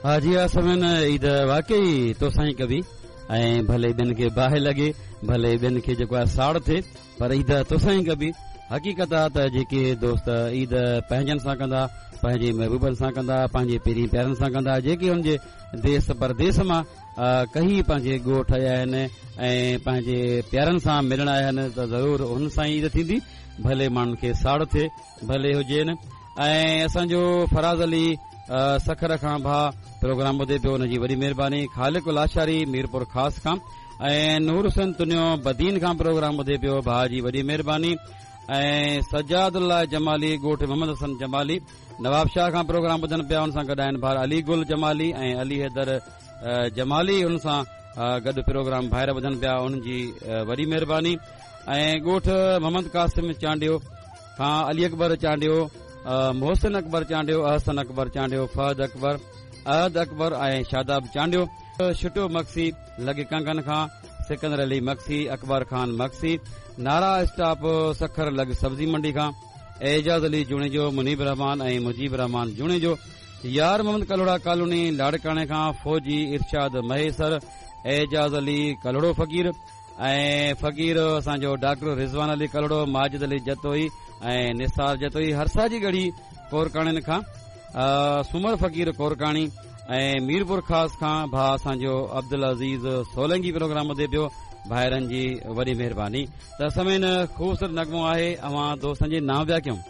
ها جي ها سامعين عيد واقعي توسان ئي ڪبي ۽ ڀلي ٻين کي باهه لڳي ڀلي ٻين کي جيڪو آهي ساڙ ٿئي پر عيد توسان ئي ڪبي حقيقت آ ته جيڪي دوست عيد پنهنجن سان ڪندا پنهنجي محبوبن سان ڪندا پنهنجي پرين پيارن سان ڪندا جيڪي ان جي ديس پرديس مان ڪهي پنهنجي ڳوٺ آيا آهن ۽ پنهنجي پيارن سان ملڻ آيا آهن ته ضرور انهن سان ئي عيد ٿيندي ڀلي ماڻهن کي ساڙ ٿئي ڀلي هجين ۽ اسان جو فراز علي سکر کان ڀاء پروگرام ٻڌي پيو ان جي وڏي مهرباني خالق لاشاري ميرپور خاص کان ۽ نور حسين تنيو بدين کان پروگرام ٻڌي پيو ڀاء جي وڏي مهرباني ۽ سجاد الله جمالي ڳوٺ محمد حسن جمالي نواب شاهه کان پروگرام ٻڌن پيا ان سان گڏ آهن ڀاء علي گل جمالي ۽ علي حيدر جمالي ان سان گڏ پروگرام ڀائر ٻڌن پيا انهن جي وڏي مهرباني ۽ ڳوٺ محمد قاسم چانڊيو کان علي اڪبر چانڊيو محسن اڪبر چانڊيو احسن اڪبر چانڊيو فهد اڪبر احد اڪبر ۽ شاداب چانڊيو شٽو مگسي لڳ ڪنگن کان سڪندر علي مگسي اڪبر خان مگسي نارا اسٽاپ سکر لڳ سبزي منڊي کان اعجاز علي جوڻيجو منيب الرحمان ۽ مجيب الرحمان جوڻيجو يار محمد ڪلهوڙا ڪالوني لاڙڪاڻي کان فوجي ارشاد مهيسر اعجاز علي ڪلهوڙو فقير ۽ فقير اسان جو ڊاڪٽر رضوان علي ڪلهوڙو، ماجد علي جتوئي ۽ نثار جتوئي هرسا جي ڳڙهي ڪورڪاڻين کان سومر فقير ڪورڪاڻي ۽ ميرپور خاص کان ڀاء اسان جو عبدالعزيز سولنگي پروگرام ٻڌي پيو ڀائرن جي وڏي مهرباني ته سامعين خوبصورت نغمو آهي اوهان دوستن جي نانء پيا ڪيون.